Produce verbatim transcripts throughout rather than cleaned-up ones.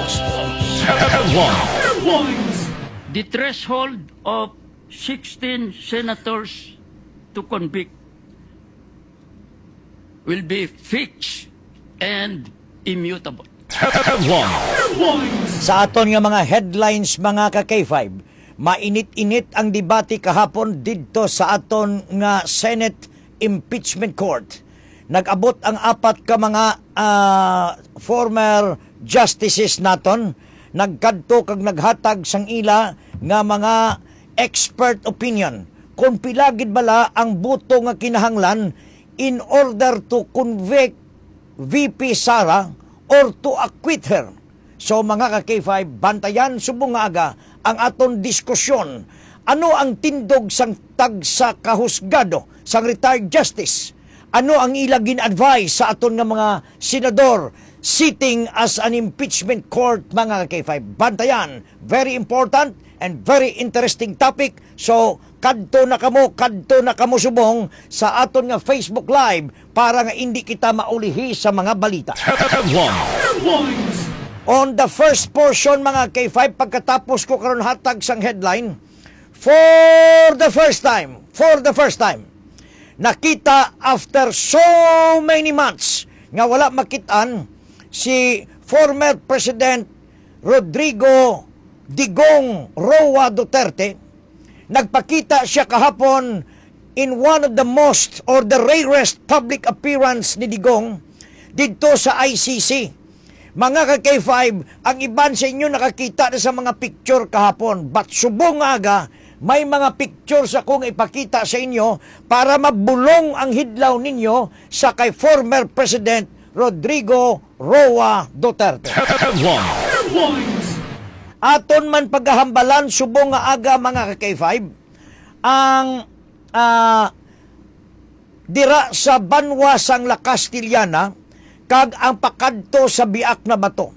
Sports Headlines. The threshold of sixteen senators to convict will be fixed and immutable. Headlines. Sa aton nga mga headlines, mga ka K five, mainit-init ang debate kahapon didto sa aton nga Senate Impeachment Court. Nag-abot ang apat ka mga, ah, former justices naton, nagkadto kag naghatag sang ila nga mga expert opinion kung pila gid bala ang boto nga kinahanglan in order to convict V P Sara or to acquit her. So, mga ka K five, bantayan subong nga aga ang aton diskusyon. Ano ang tindog sang tagsa ka husgado sang retired justice? Ano ang ila gin-advise sa aton nga mga senador sitting as an impeachment court, mga ka K five? Bantayan, very important and very interesting topic. So, kadto na kamo, kadto na kamo subong sa aton nga Facebook Live para nga indi kita maulihi sa mga balita. Headlines. On the first portion, mga K five, pagkatapos ko karon hatag sang headline, for the first time, for the first time, nakita after so many months nga wala makit-an si former President Rodrigo Digong Roa Duterte. Nagpakita siya kahapon in one of the most or the rarest public appearance ni Digong didto sa I C C. Mga ka K five, ang iban sa inyo nakakita na sa mga picture kahapon, but subong nga aga, may mga picture sa akong ipakita sa inyo para mabulong ang hidlaw ninyo sa kay former President Rodrigo Roa Duterte. Headlines. Aton man pagahambalan subong nga aga, mga ka K five, ang, ah, dira sa banwa sang La Castellana kag ang pakadto sa Biak na Bato.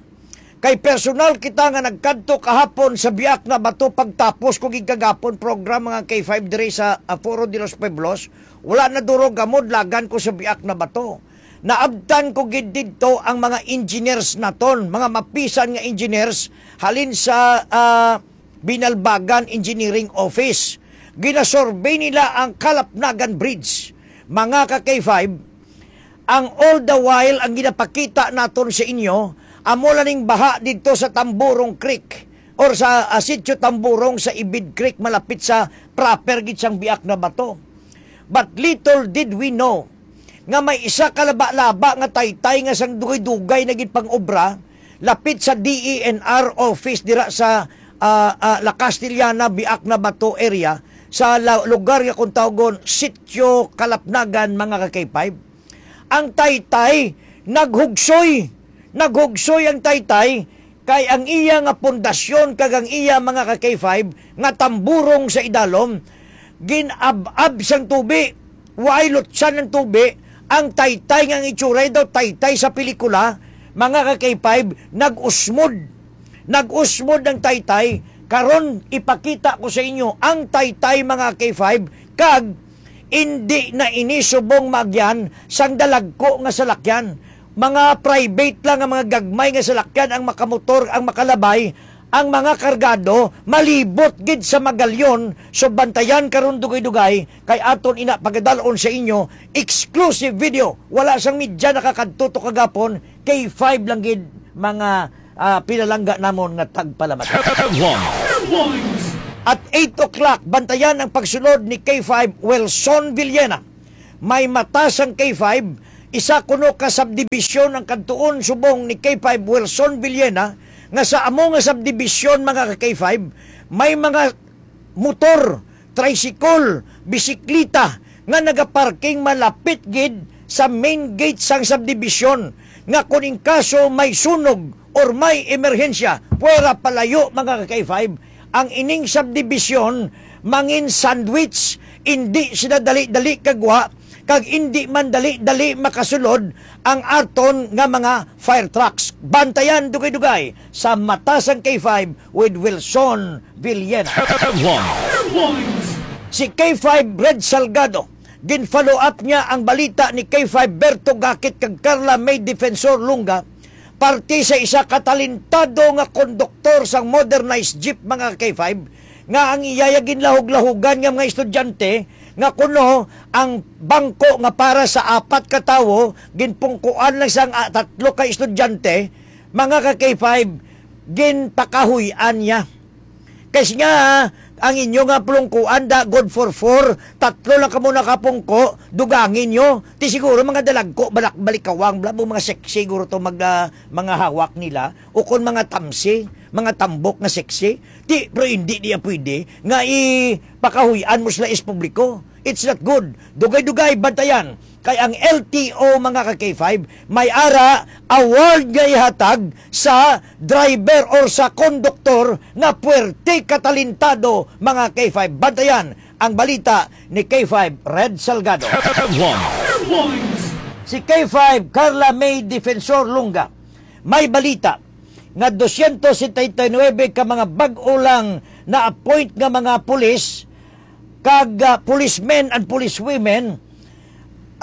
Kay personal kita nga nagkadto kahapon sa Biak na Bato pagtapos ko gid kagapon program, mga K five, diri sa, ah, Foro de los Pueblos. Wala na duro gamod lagan ko sa Biak na Bato. Naabtan ko gid didto ang mga engineers naton, mga mapisan nga engineers halin sa, ah, Binalbagan Engineering Office. Ginasurvey nila ang Kalapnagan Bridge. Mga ka K five, ang all the while ang ginapakita naton sa inyo, amo lang ning baha didto sa Tamburong Creek or sa, ah, Sitio Tamburong sa Ibid Creek, malapit sa proper gid sang Biak na Bato. But little did we know nga may isa ka laba-laba nga taytay nga sang dugay-dugay na gid pang-obra lapit sa D E N R office dira sa, ah, ah, La Castellana, Biak na Bato area, sa la-, lugar nga kung tawgon Sitio Kalapnagan, mga ka K five. Ang taytay naghugsoy, naghugsoy ang taytay, kay ang iya nga pundasyon kag ang iya, mga ka K five, nga tamburong sa idalom, gin-ab-ab sang tubi. Way lutsan ang tubi. Ang taytay nga ang itsuray daw taytay sa pelikula, mga ka K five, nag-usmod. Nag-usmod ang taytay. Karon, ipakita ko sa inyo ang taytay, mga K five, kag indi na ini subong maagyan sang dalagko nga salakyan. Mga private lang nga mga gagmay nga salakyan ang makamotor, ang makalabay. Ang mga kargado malibot gid sa magalyon. So, bantayan karon, dugay-dugay, kay aton ina pagadal-on sa inyo exclusive video. Wala sang media nakakadto to kagapon, K five lang gid, mga, ah, pinalangga namon nga tagpalamat. Headlines. At eight o'clock, bantayan ang pagsulod ni K five Wilson Villena. May mata sang K five, isa kuno ka subdivision ang kadtuon subong ni K five Wilson Villena, nga sa amo nga subdivision, mga ka K five, may mga motor, tricycle, bisikleta nga nagaparking malapit gid sa main gate sang subdivision, nga kung in kaso may sunog or may emerhensya, pwera palayo, mga ka K five, ang ining subdivision mangin sandwich, indi sila dali-dali kagwa, kag indi man dali-dali makasulod ang aton nga mga fire trucks. Bantayan, dugay-dugay, sa Mata sang K five with Wilson Villena. Headlines. Si K five Red Salgado, gin-follow up niya ang balita ni K five Berto Gakit kag Carla May Defensor Lunga parte sa isa ka talentado nga konduktor sang modernized jeep, mga ka-K five, nga ang iya ginlahog-lahogan nga mga estudyante nga kuno ang bangko nga para sa apat ka tawo ginpungkuan lang sang, ah, tatlo ka estudyante, mga ka-K five, ginpakahuy-an niya. Kay nga, ang inyo nga pulungkuan da, good for four, tatlo lang kamo nakapungko, dugangi nyo. Ti siguro mga dalagko, balak-, balikawang, bla, mga sexy, siguro to mag, ah, mga hawak nila, o kon mga tamsi, mga tambok nga sexy. Ti, pero hindi niya pwede nga ipakahuy-an mo sila is publiko. It's not good. Dugay-dugay, bantayan. Kay ang L T O, mga ka-K five, may ara award nga ihatag sa driver or sa konduktor nga puwerte katalentado, mga K five. Bantayan ang balita ni K five Red Salgado. Headlines. Si K five Carla May Defensor Lunga, may balita nga dosyentos setenta y nuebe ka mga bag-o lang na-appoint nga mga pulis kag, ah, policemen and policewomen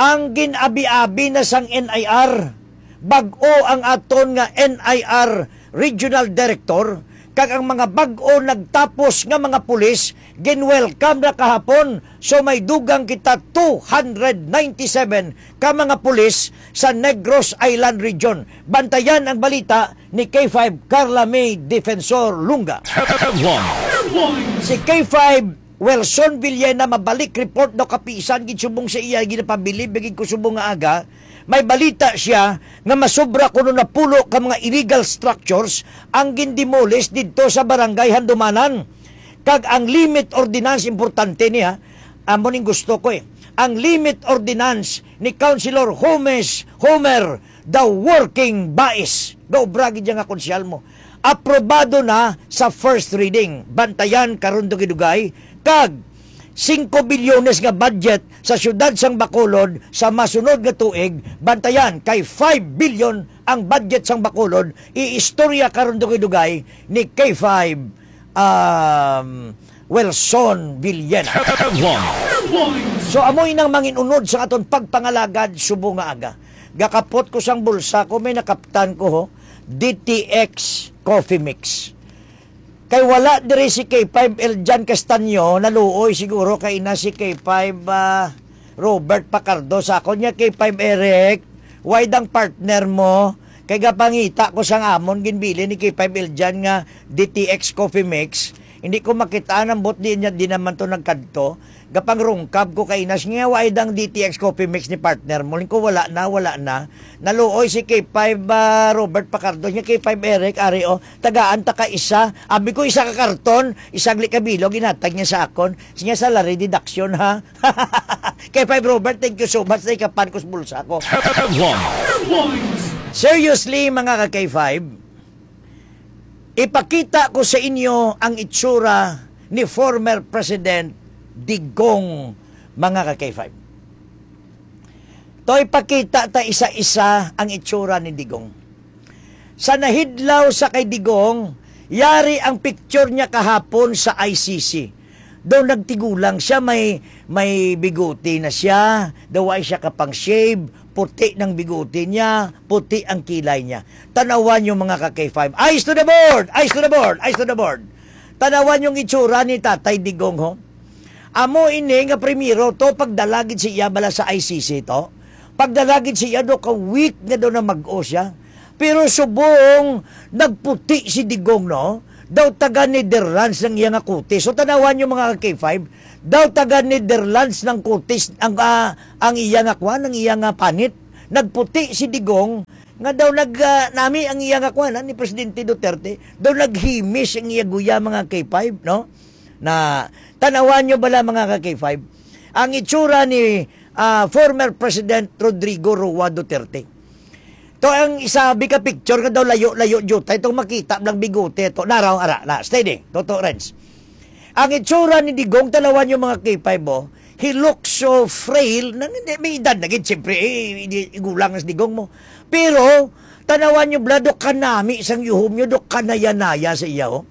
ang gin-abi-abi na sang N I R. Bag-o ang aton nga N I R Regional Director, kag ang mga bag-o nagtapos nga mga pulis gin-welcome na kahapon. So, may dugang kita two hundred ninety-seven ka mga pulis sa Negros Island Region. Bantayan ang balita ni K five Carla May Defensor Lunga. Headlines. Si K five Wilson Villena, mabalik report daw kapisan gid subong sa iya ginapabilib gid ko subong nga aga. May balita siya nga masobra kuno napulo ka mga illegal structures ang gindemolish didto sa Barangay Handumanan. Kag ang limit ordinance, importante niya, amo ning gusto ko eh. Ang limit ordinance ni Councilor Homes, Homer, the working bais. Gaobra gid nga konsehal mo. Aprobado na sa first reading. Bantayan karon dugay-dugay. Kag singko bilyones nga budget sa siyudad sang Bacolod sa masunod nga tuig. Bantayan kay five billion ang budget sang Bacolod. Iistorya karon dugay-dugay ni K five, um, Wilson Villena. Headlines. So, amo inang manginunod sa aton pagpangalagad subong nga aga. Gakapot ko sang bulsa ko, may nakaptan ko, ho, D T X Coffee Mix. Kay wala diri si K five Eljan Castaño, naluoy siguro kay ina si K five, ah, Robert Pacardo. Sa akon niya, K five Eric, way dang partner mo? Kay gapangita ko sang amon ginbilin ni K five Eljan nga D T X Coffee Mix. Hindi ko makita ang bot di niya, di naman to nagkadto. Gapangrungkab ko kay inas niya, way dang D T X Coffee Mix ni partner mo. Ling ko, wala na, wala na. Naluoy si K five, ah, Robert Pacardo niya, K five Eric, ari, oh, tagaan ta ka isa. Abi ko, isa ka karton, isang likabilog, ginatag niya sa akon. Siya salary deduction, ha? K five Robert, thank you so much. Naikapan ko sa bulsa ko. Headlines. Seriously, mga ka-K five, ipakita ko sa inyo ang itsura ni former President Digong, mga ka-K five. To, ipakita ta isa-isa ang itsura ni Digong. Sa nahidlaw sa kay Digong, yari ang picture niya kahapon sa I C C. Daw nagtigulang siya, may, may bigote na siya, daw ay siya kapang shave, puti ng bigote niya, puti ang kilay niya. Tanawan yung mga ka-K five. Eyes to the board! Eyes to the board! Eyes to the board! Tanawan yung itsura ni Tatay Digong, ho. Amo ini nga primero to, pagdala gid siya bala sa I C C to. Pagdala gid siya, do ka week nga daw na mag-o siya. Pero subong nagputi si Digong, no? Daw taga Netherlands ang iya nga kutis. So, tanawan yung mga K five, daw taga Netherlands ng kutis ang, ah, ang iya nga kwan, ang iya nga panit. Nagputi si Digong nga daw nag, ah, nami ang iya nga kwan, ah, ni Presidente Duterte. Daw naghimis ang iya guya, mga K five, no? Na, tanawan nyo bala, mga ka-K five, ang itsura ni, ah, former President Rodrigo Roa Duterte. To ang isabi ka picture nga daw layo-layo jutay, itong makita lang bigote to. Naraw, ara, na, steady. Toto, Renz. Ang itsura ni Digong, tanawan nyo, mga K five, oh. He looks so frail. Na, hindi, may edad na gid, siyempre, eh, hindi, igulang na si Digong mo. Pero, tanawan nyo, bla, do kanami sang yuhom nyo, do kanaya-naya sa iya, oh.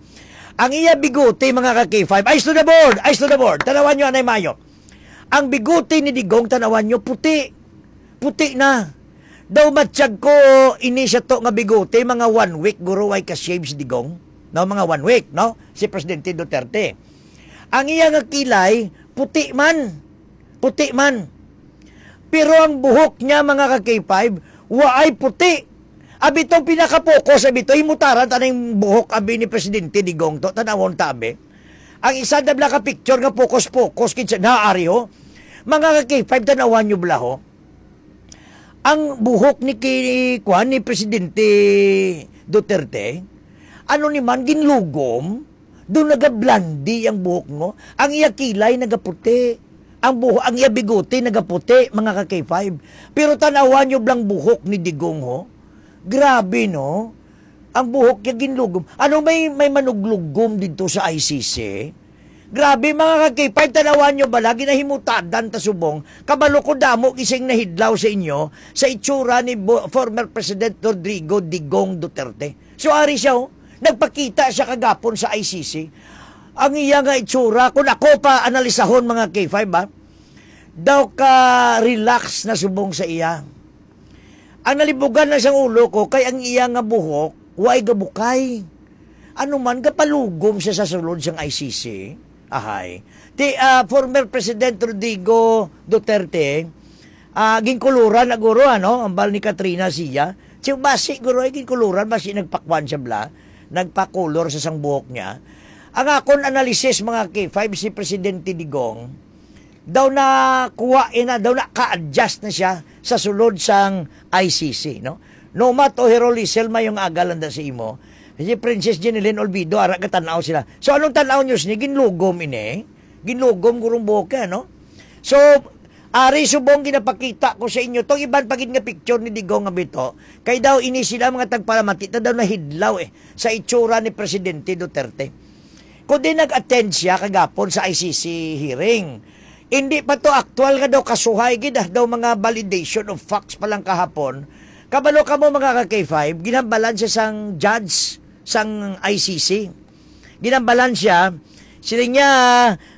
Ang iya bigote, mga ka-K five, eyes to the board, eyes to the board. Tanawan nyo, anay mayo. Ang bigote ni Digong, tanawan nyo, puti. Puti na. Daw matsyag ko ini siya to nga bigote, mga one week, guro, way ka-shave si Digong. No, mga one week, no? Si Presidente Duterte. Ang iya nga kilay, puti man. Puti man. Pero ang buhok niya, mga ka-K five, waay puti. Abi to, pinaka-focus, abi to, himutaran ta ning buhok, abi ni Presidente Digong to, tanawon ta, abi. Ang isa na bala ka picture nga focus-focus, kinsa, naari, ho. Mga ka-K five, tanawan nyo bala, ho. Ang buhok ni ki-, kuwan, ni Presidente Duterte, ano ni man, ginlugom, do nagablandi ang buhok, no? Ang iya kilay nagaputi. Ang buho-, ang iya bigote nagaputi, mga ka-K five. Pero tanawan nyo bala ang buhok ni Digong, ho. Grabe, no? Ang buhok niya ginlugom. Ano, may, may manuglugom dito sa I C C? Grabe, mga ka-K five, tanawan nyo bala, ginahimutadan ta subong. Kabalo ko, damo gising nahidlaw sa inyo sa itsura ni Bo-, former President Rodrigo Digong Duterte. So, ari siya, oh. Nagpakita siya kagapon sa I C C. Ang iya nga itsura, kung ako pa analisahon, mga K five, ba, daw ka relax na subong sa iya. Ang nalibugan na siyang ulo ko kay ang iya nga buhok, way gabukay. Ano man, gapalugom siya sa sulod sang I C C. Ahay. Ti, ah, former President Rodrigo Duterte, ah, ginkuluran na guro, ano, ang bal ni Katrina siya. Si basi guro ay ginkuluran, basi nagpakwan siya bala, nagpakulor sa sang buhok niya. Ang akon analysis, mga K five, si Presidente Digong, daw na kuha ina, daw na ka-adjust na siya sa sulod sang I C C, no? Nomat o Herol Lisel, mayong aga lang da sa imo. Si Princess Jeneline Olvido, ara ka tan-aw sila. So, anong tan-aw nyo sini? Ginlugom ini. Ginlugom gurong buhok, eh, no? So, ari subong ginapakita ko sa inyo. Tong iban pa gid nga picture ni Digong nga bito. Kay daw ini sila mga tagpalamati, ta daw nahidlaw, eh, sa itsura ni Presidente Duterte. Kundi nag-attend siya kagapon sa I C C hearing. Hindi pa to aktual nga daw kasuhay gid, ah, daw mga validation of facts pa lang kahapon. Kabalo kamo, mga ka-K five, ginhambalan siya sang judge sang I C C. Ginhambalan siya, siling niya,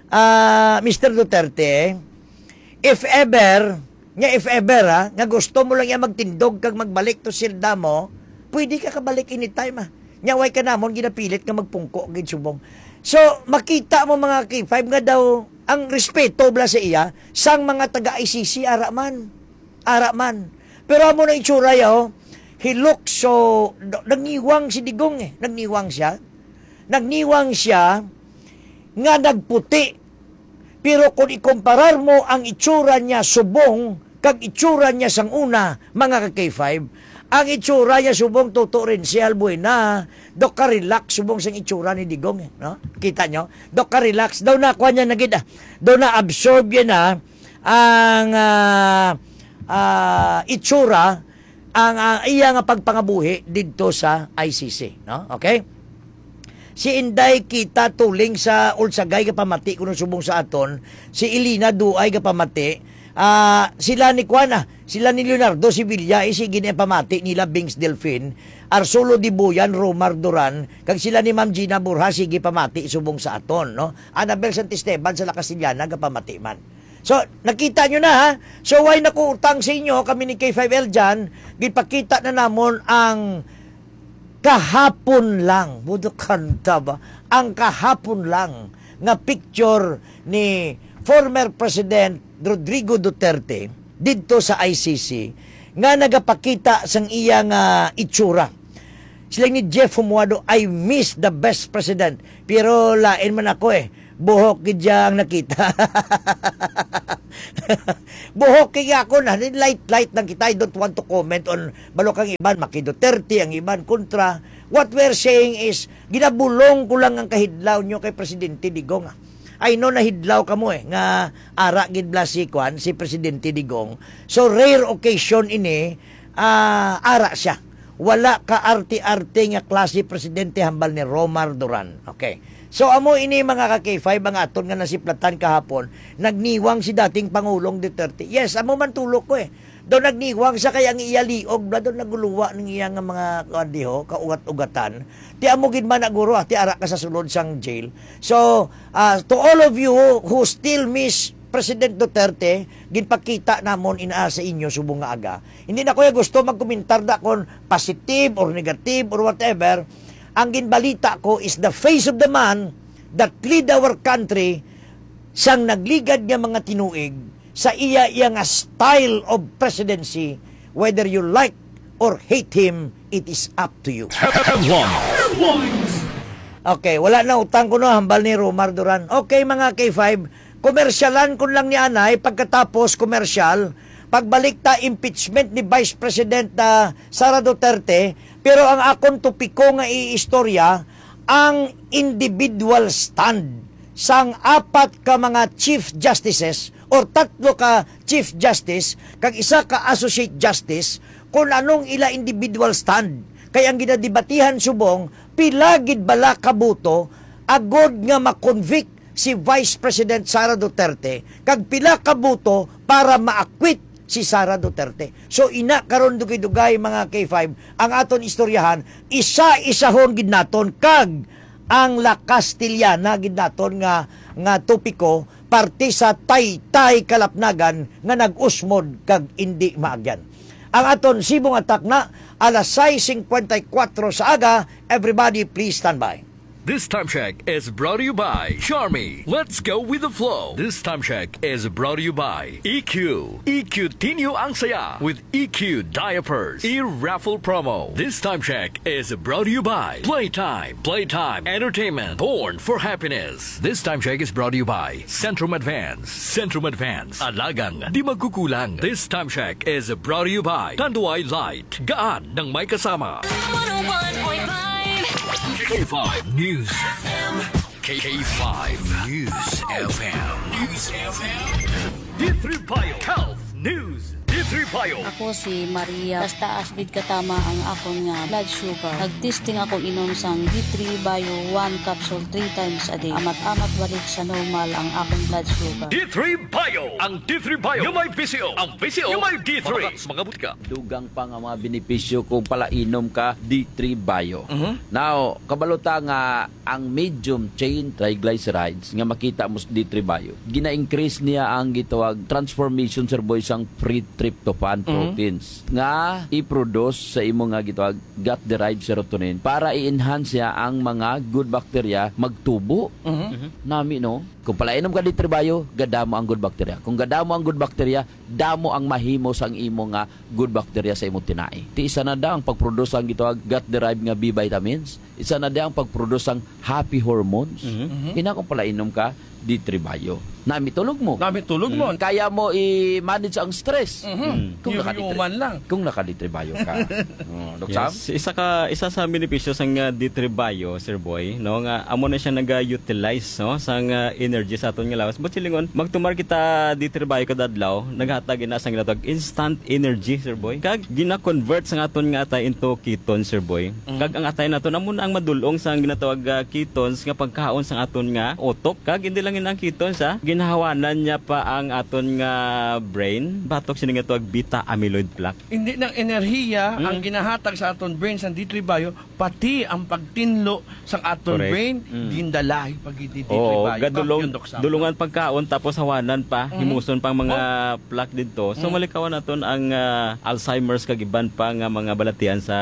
ah, Mister Duterte, if ever, nga if ever, ha, nga gusto mo lang iya magtindog kag magbalik to selda mo, pwede ka kabalik anytime, ha. Nya, way ka namon ginapilit nga magpungko gid subong. So, makita mo, mga K five, nga daw ang respeto bala sa iya sang mga taga I C C, ara man. Ara man. Pero amo na itsura ya, oh. He looks so, na-, nagniwang si Digong, eh. Nagniwang siya. Nagniwang siya nga nagputi. Pero kung ikumparar mo ang itsura niya subong kag itsura niya sang una, mga ka-K five, ang itsura niya subong, Toto Renzi Albuena, daw ka-relax subong sang itsura ni Digong, eh, no? Kita nyo? Daw ka-relax. Daw na, kuwan niya na gid, ah. Daw na-absorb yan, ah, ang, ah, ah, itsura, ang, ah, iya nga pagpangabuhi didto sa I C C, no? Okay? Si Inday Kita Tuling sa Ulsagay gapamati kuno subong sa aton, si Elena Duay gapamati, ah, sila ni kuan, ah, sila ni Leonardo Sevilla, eh, sige ni pamati nila, Bings Delfin, Arsulo Dibuyan, Romar Duran, kag sila ni Ma'am Gina Borja, sige pamati subong sa aton, no? Annabel Santisteban sa La Castellana gapamati man. So, nakita nyo na, ha? So, way na ko utang sa inyo, kami ni K five L dyan, gipakita na namon ang kahapon lang, budok kanta ba? Ang kahapon lang nga picture ni former President Rodrigo Duterte didto sa I C C nga nagapakita sang iya nga itsura. Sila ni Jeff Humuado, "I miss the best president." Pero lain man ako, eh. Buhok gid siya ang nakita. Buhok kay ako na, light-light lang kita. I don't want to comment on, balo kang iban, maki Duterte, ang iban kontra. What we're saying is, ginabulong ko lang ang kahidlaw nyo kay Presidente Digong, ah. I know nahidlaw kamo, eh, nga ara gid bala si, kwan, si Presidente Digong. So, rare occasion ini, ah, ara siya. Wala ka arte-arte nga klase presidente hambal ni Romar Duran. Okay. So, amo ini, mga ka-K five, ang aton nga nasiplatan kahapon. Nagniwang si dating Pangulong Duterte. Yes, amo man tulo ko, eh. Daw nagniwang siya kay ang iya liog, bala daw naguluwa ning iya nga mga, kuwan, diho, kaugat-ugatan. Ti amo gid man na guro, ah, ti ara ka sa sulod sang jail. So, ah, to all of you who still miss President Duterte, ginpakita namon ina sa inyo subong nga aga. Hindi na ko ya gusto magkomentar na kon positive or negative or whatever. Ang ginbalita ko is the face of the man that lead our country sang nagligad nga mga tinuig sa iya, iya nga style of presidency, whether you like or hate him, it is up to you. Headlines. Okay, wala na utang ko, no, hambal ni Romar Duran. Okay, mga K five, komersyalan ko lang ni anay, pagkatapos komersyal, pagbalik ta impeachment ni Vice President, ah, Sara Duterte, pero ang akon topiko nga iistorya, ang individual stand sang apat ka mga Chief Justices or tatlo ka Chief Justice kag isa ka Associate Justice, kung anong ila individual stand. Kay ang ginadebatihan subong, pila gid bala ka boto agod nga ma-convict si Vice President Sara Duterte kag pila ka boto para ma-acquit si Sara Duterte. So, ina karon, dugay-dugay, mga K five, ang aton istoryahan, isa-isahon gid naton kag ang La Castellana gid naton nga, nga topiko, parte sa taytay kalapnagan nga nag-usmod kag indi maagyan. Ang aton sibong atak na alas sais singkwenta y kuwatro sa aga. Everybody, please stand by. This time check is brought to you by Charmy. Let's go with the flow. This time check is brought to you by E Q. E Q Tinyo ang saya with E Q diapers. E-raffle promo. This time check is brought to you by Playtime. Playtime Entertainment. Born for happiness. This time check is brought to you by Centrum Advance. Centrum Advance. Alagang di magkukulang. This time check is brought to you by Tanduay Light. Gaan ng may kasama. One oh one point five K five News F M. K five News F M. News F M. D three Bio Health News. D three Bio. Ako si Maria. Taas-taas gid katama ang akon nga blood sugar. Nag-testing ako inom sang D three Bio one capsule three times a day. Amat-amat balik sa normal ang akon blood sugar. D three Bio. Ang D three Bio nga may V C O. Ang V C O nga may D three. Mga, mga butika. Dugang pa nga mga benepisyo kung palainom ka D three Bio. Mhm. Now, kabalo ta nga ang medium chain triglycerides nga makita mo sa D three Bio, gina-increase niya ang gitawag transformation, sir boy, sang free tryptophan Mhm. proteins nga i-produce sa imo nga gitawag gut-derived serotonin para i-enhance niya ang mga good bacteria magtubo. Mhm. Nami, no? Kung palainom ka D three Bio, gadamo ang good bacteria. Kung gadamo ang good bacteria, damo ang mahimo sang imo nga good bacteria sa imong tinai. Ti isa na da ang pag-produce ang gitawag gut-derived nga B vitamins. Isa na da ang pag-produce sang happy hormones. Mhm. Mhm. Ina kung palainom ka, D three Bio. Nami tulog mo. Nami tulog mo. Mm. Kaya mo i-manage ang stress. Mhm. Mm. Kung naka-D three, Yuman lang. Kung naka-D three Bio ka. Oh, Doc Sam? Yes. Isa ka, isa sa benepisyo sang, uh, D three Bio, Sir Boy, no, nga amo na siya naga-utilize, no, sang, uh, energy sa aton nga lawas. But silingon, magtumar kita D three Bio kada adlaw, naghatag ina sang ginatawag instant energy, Sir Boy. Kag gina-convert sang aton nga atay into ketone, Sir Boy. Mm. Kag ang atay naton amo na ang madul-ong sang ginatawag, ah, ketones nga pagkaon sang aton nga utok. Kag hindi lang yun ang ketones, ah, ginahawanan niya pa ang aton nga brain batok sini nga tawag beta amyloid plaque. Hindi lang enerhiya ang Mm. ginahatag sa aton brain sang D three Bio, pati ang pagtinlo sang aton Correct. brain, Mm. gindalahi pag hindi Oo, Bio. gadulong, Kampiyon, Doc Sam. dulungan pagkaon tapos hawanan pa, Mhm. himuson pang mga Oh. plaque didto. So, Mm. malikawan naton ang, ah, Alzheimer's kag iban pa nga mga balatian sa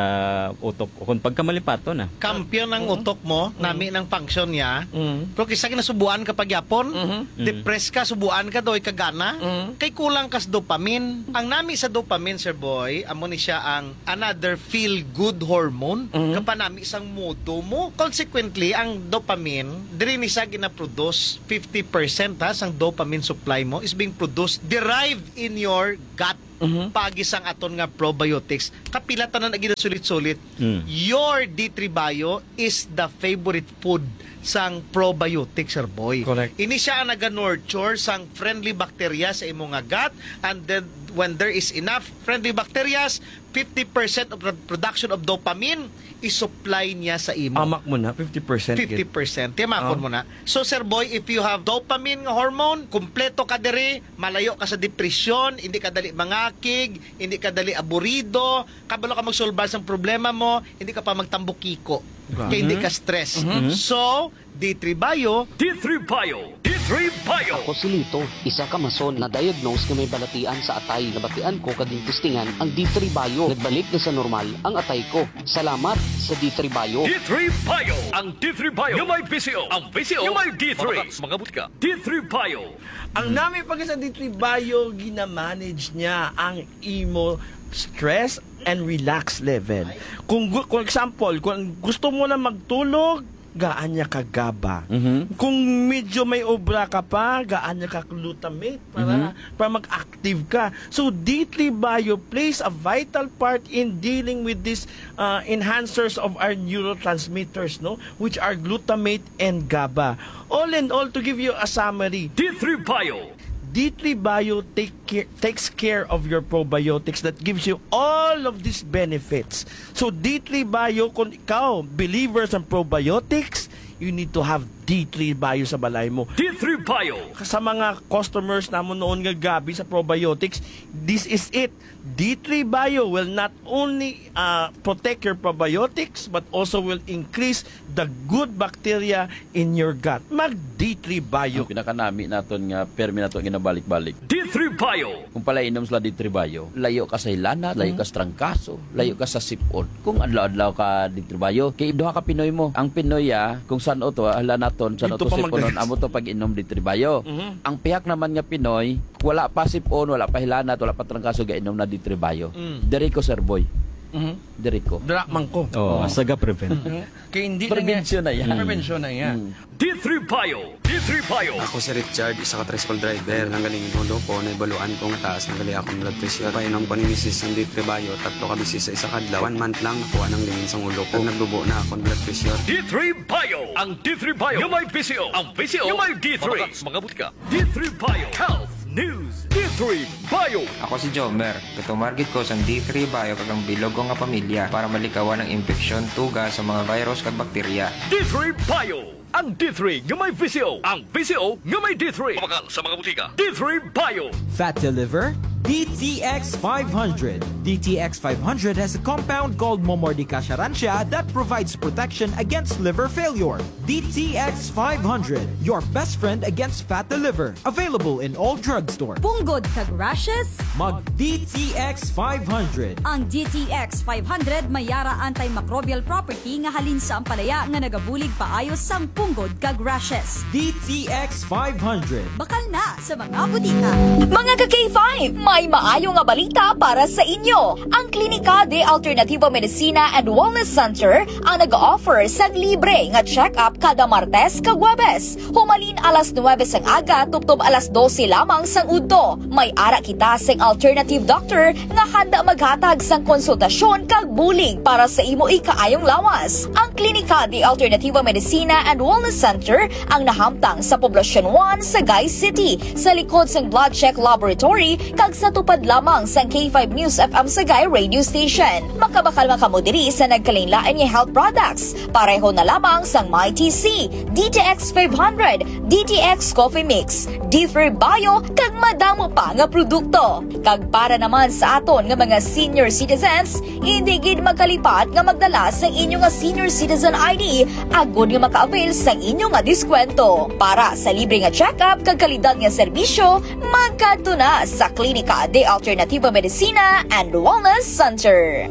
utok o kung pagkamalipaton, ah. Kampiyon ang Mm. utok mo, Mm. nami ng function niya. Mm. Pero kisa ginasubuan ka pagyapon, Mhm. Mm. depressed ka, subuan ka, doy ka gana. Mm. Kay kulang ka sa dopamine. Ang nami sa dopamine, Sir Boy, amo ni siya ang another feel-good hormone, Mhm. kapanami sang mudo mo. Consequently, ang dopamine, diri ni siya ginaproduce, fifty percent, ha, sang dopamine supply mo is being produced, derived in your gut, Mhm. paagi sang aton nga probiotics. Kapila tanan ang ginasulit-sulit. Mm. Your D three Bio is the favorite food sang probiotics, Sir Boy. Correct. Ini siya ang naga-nurture sang friendly bacteria sa imo nga gut, and then when there is enough friendly bacterias, fifty percent of the production of dopamine, i-supply niya sa imo. Amak mo na, fifty percent gid. Fifty percent. Tiyamakon Oh. mo na. So, Sir Boy, if you have dopamine nga hormone, kumpleto ka diri, malayo ka sa depresyon, hindi ka dali mangakig, hindi ka dali aburido, kabalo ka magsulbad sang problema mo, hindi ka pa magtambukiko. Grabe. Kay hindi ka stress. Mhm. So, D three Bio. D three Bio. D three Bio. Ako si Lito, isa ka mason na diagnose nga may balatian sa atay. Nabatian ko kag gintistingan ang D three Bio. Nagbalik na sa normal ang atay ko. Salamat sa D three Bio. D three Bio. Ang D three Bio nga may V C O. Ang V C O nga may D three. Mga, mga butika. D three Bio. Ang nami pa sa D three Bio, ginamanage niya ang imo stress and relax level. Kung gu-, kung example, kung gusto mo na magtulog, gaan niya ka GABA. Mhm. Kung medyo may obra ka pa, gaan niya ka glutamate para, Mhm. para mag-active ka. So, D three Bio plays a vital part in dealing with these, uh, enhancers of our neurotransmitters, no? Which are glutamate and GABA. All in all, to give you a summary, D three Bio. D three Bio take care, takes care of your probiotics that gives you all of these benefits. So, D three Bio, kung ikaw, believers ng probiotics, you need to have D three Bio sa balay mo. D three Bio. Sa mga customers namon noon nga grabe sa probiotics, this is it. D three Bio will not only, uh, protect your probiotics, but also will increase the good bacteria in your gut. Mag D three Bio. Ang pinakanami naton nga permi nato ginabalik-balik. D three Bio. Kung pala inom sila D three Bio, layo ka sa hilanat, layo Mm. ka sa trangkaso, layo ka sa sipon. Kung adlaw-adlaw ka D three Bio, kay duha ka Pinoy mo. Ang Pinoy, ah, kung san-o to, ah, hala naton, san-o Dito to pa siponon, magdagis. Amo to pag-inom D three Bio. Mhm. Ang pihak naman nga Pinoy, wala pa sipon, wala pa hilanat, wala pa trangkaso, gainom na D three Bio. Mm. Diri ko, Sir Boy. Mhm. Diri ko. Dira man ko. Oh, Oo. Saga prevent. Mhm. Kay hindi na Prevention nga. Na yan. Prevention na yan. Mm. D three Bio. D three Bio. Ako si Richard, isa ka tricycle driver. Nanggaling ulo ko, naibaluan ko nga taas na gali akong blood pressure. Painom ko ni misis ang D three Bio, tatlo ka beses sa isa ka adlaw. One month lang, nakuha nang lingin sang ulo ko. Nagdubo na akong blood pressure. D three Bio. Ang D three Bio nga may V C O. Ang V C O nga may D three. Mga, mga butika. D three Bio Health News. D three Bio. Ako si Jomer. Gatumar gid ko sang D three Bio kag ang bilog ko nga pamilya para malikawan ang impeksyon, tuga sa mga virus kag bakterya. D three Bio. Ang D three nga may V C O. Ang V C O nga may D three. Mabakal sa mga butika. D three Bio. Fat to liver? D T X five hundred. D T X five hundred has a compound called Momordica charantia that provides protection against liver failure. D T X five hundred, your best friend against fat to liver. Available in all drugstore. Punggod kag rashes? Mag D T X five hundred. Ang D T X five hundred may yara antimicrobial property nga halin sa ampalaya nga nagabulig paayo sang punggod kag rashes. D T X five hundred. Bakal na sa mga butika. Mga ka K five, may maayo nga balita para sa inyo. Ang Klinika de Alternativo Medicina and Wellness Center ang nag-offer sang libre nga check-up kada Martes kag Huwebes, humalin alas nuwebe sang aga tubtob alas dose lamang sang udto. May ara kita sing alternative doctor nga handa maghatag sang konsultasyon kag bulig para sa imo ikaayong lawas. Ang Klinika de Alternativo Medicina and Wellness Center ang nahamtang sa Poblacion one, Sagay City, sa likod sang Blood Check Laboratory kag sa tupad lamang sang K five News F M Sagay Radio Station. Makabakal man kamo diri sa nagkalainlain nga health products, pareho na lamang sang My T C, D T X five hundred, D T X Coffee Mix, D three Bio, kag madamo pa nga produkto. Kag para naman sa aton nga mga senior citizens, hindi gid magkalipat nga magdala sang inyo nga senior citizen I D agod nga maka-avail sang inyo nga diskwento. Para sa libre nga check-up kag kalidad nga serbisyo, magkadto na sa Klinika de Alternativo Medicina and Wellness Center.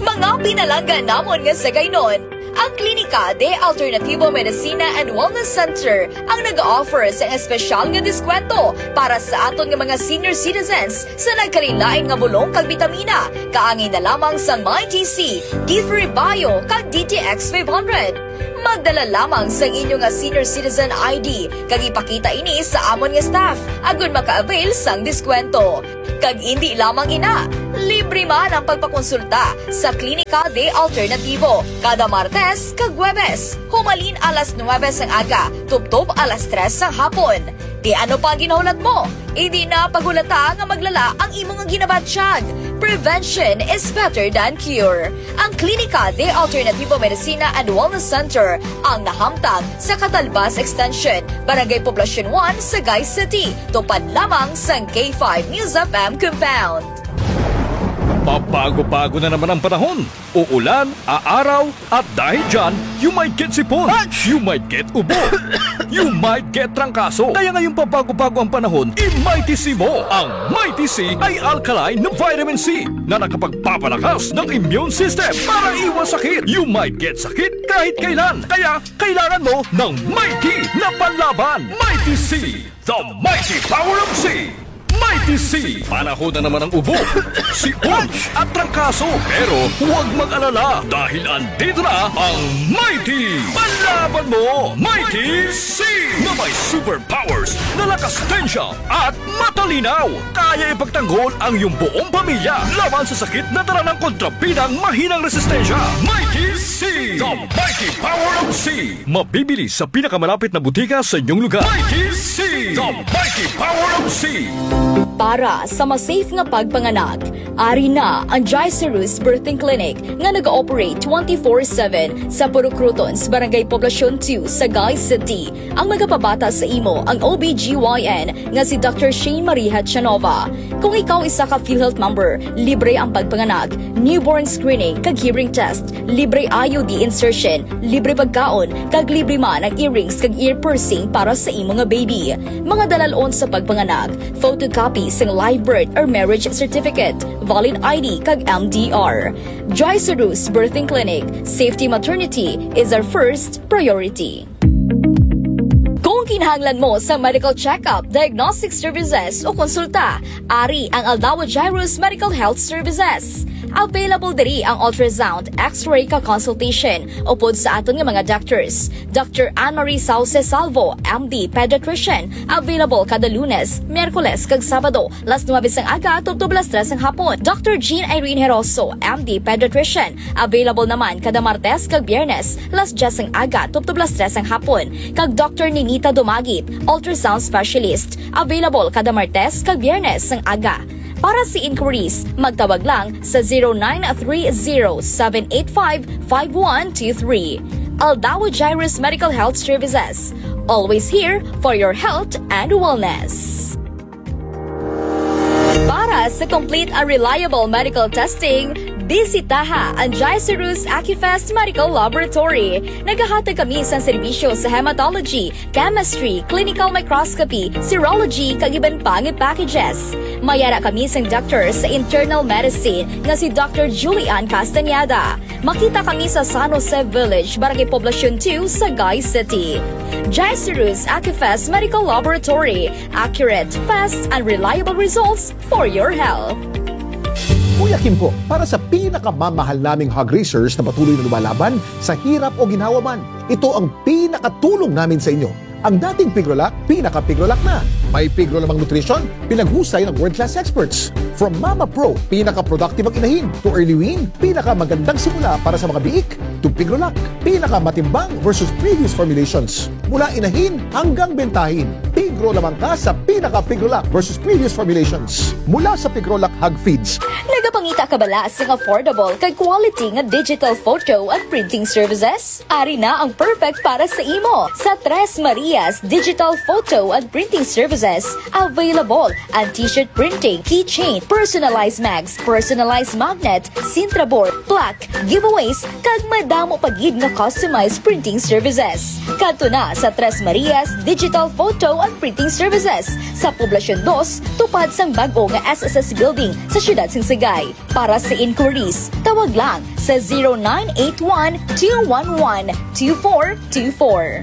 Mga pinalangga namon nga Sagaynon, ang Klinika de Alternativo Medicina and Wellness Center ang nag-offer sa espesyal nga diskwento para sa aton nga mga senior citizens sa nagkalainlain nga bulong kag bitamina, kaangay na lamang sang My T C, D three Bio, kag D T X five hundred. Magdala lamang sang inyo nga senior citizen I D kag ipakita ini sa amon nga staff agod maka-avail sang diskwento. Kag indi lamang ina, libre man ang pagpakonsulta sa Klinika de Alternativo kada Martes kag Huwebes, humalin alas nuwebe sang aga tubtob alas tres sang hapon. Ti ano pa ang ginahulat mo? Indi na paghulata nga magdala ang imo nga ginabatyag. Prevention is better than cure. Ang Klinika de Alternativo Medicina and Wellness Center ang nahamtang sa Catalbas Extension, Barangay Poblacion one, Sagay City, tupad lamang sang K five News F M compound. Pabago-bago na naman ang panahon. Uulan, aaraw, at dahil dyan, you might get sipon. You might get ubo. You might get trangkaso. Kaya ngayong pabago-bago ang panahon, i-Mighty C mo. Ang Mighty C ay alkaline na vitamin C na nakapagpapalakas ng immune system para iwas sakit. You might get sakit kahit kailan. Kaya kailangan mo ng Mighty na panlaban. Mighty C, the mighty power of C. Mighty C, panahon na naman ang ubo, sipon, at trangkaso. Pero huwag mag-alala dahil andito na ang Mighty Panlaban Mo, Mighty C, na may superpowers na lakas, tensya, at matalinaw. Kaya ipagtanggol ang iyong buong pamilya laban sa sakit na dala ng kontrabidang mahinang resistensya. Mighty C, the mighty power of C. Mabibili sa pinakamalapit na butika sa inyong lugar. Mighty C, the mighty power of C. Para sa mas safe nga pagpanganak, ari na ang Gicerus Birthing Clinic nga nag-ooperate twenty-four seven sa Purok Crotons, Barangay Poblacion two, Sagay City. Ang magapabata sa imo ang O B G Y N nga si Doctor Shane Marie Hachanova. Kung ikaw isa ka PhilHealth member, libre ang pagpanganak, newborn screening, kag hearing test, libre I U D insertion, libre pagkaon, kag libre man ang earrings kag ear piercing para sa imo nga baby. Mga dalalon sa pagpanganak: photocopy sang live birth or marriage certificate, valid I D, kag M D R. Joy Sarus Birthing Clinic, safety maternity is our first priority. Kung kinahanglan mo sa medical checkup, diagnostic services, o konsulta, ari ang Aldawa Jairus Medical Health Services. Available diri ang ultrasound, X-ray, ka consultation upod sa aton nga mga doctors. Doctor Anne Marie Sauce Salvo, M D, pediatrician, available kada Lunes, Miyerkules, kag Sabado, las nuebe sang aga tubtob las tres sang hapon. Doctor Jean Irene Heroso, M D, pediatrician, available naman kada Martes kag Biyernes, las dyes sang aga tubtob las tres sang hapon. Kag Doctor Ninita Dumagit, ultrasound specialist, available kada Martes kag Biyernes sang aga. Para sa inquiries, magtawag lang sa zero nine three zero seven eight five five one two three. Aldawa Jairus Medical Health Services, always here for your health and wellness. Para sa complete and reliable medical testing, bisitaha ang Jairus Acufest Medical Laboratory. Nagahatag kami sa serbisyo sa hematology, chemistry, clinical microscopy, serology, kag iban pa nga packages. May ara kami sang doctor sa internal medicine nga si Doctor Julian Castañeda. Makita kami sa San Jose Village, Barangay Poblacion two, Sagay City. Jairus Acufest Medical Laboratory, accurate, fast, and reliable results for your health. Kuya Kim po, para sa pinakamamahal naming hog raisers na patuloy na lumalaban sa hirap o ginhawa man, ito ang pinakatulong namin sa inyo. Ang dating Pigrolac, pinaka-Pigrolac na. May Pigro Lamang Nutrition, pinaghusay ng world-class experts. From Mama Pro, pinaka-productive ang inahin, to Early Wean, pinakamagandang simula para sa mga biik, to Pigrolac, pinakamatimbang versus previous formulations. Mula inahin hanggang bentahin, Pigro lamang ka sa pinaka-Pigrolac versus previous formulations. Mula sa Pigrolac Hog Feeds. Nagapangita ka bala sing affordable kag quality nga digital photo and printing services? Ari na ang perfect para sa imo. Sa Tres Marias Digital Photo and Printing Services, available ang t-shirt printing, keychain, personalized mags, personalized magnet, Sintra board, plaque, giveaways, kag madamo pa gid nga customized printing services. Kadto na sa Tres Marias Digital Photo and Printing Services sa Poblacion dos, tupad sang bag-o nga S S S Building sa siyudad sang Sagay. Para sa inquiries, tawag lang sa zero nine eight one two one one two four two four.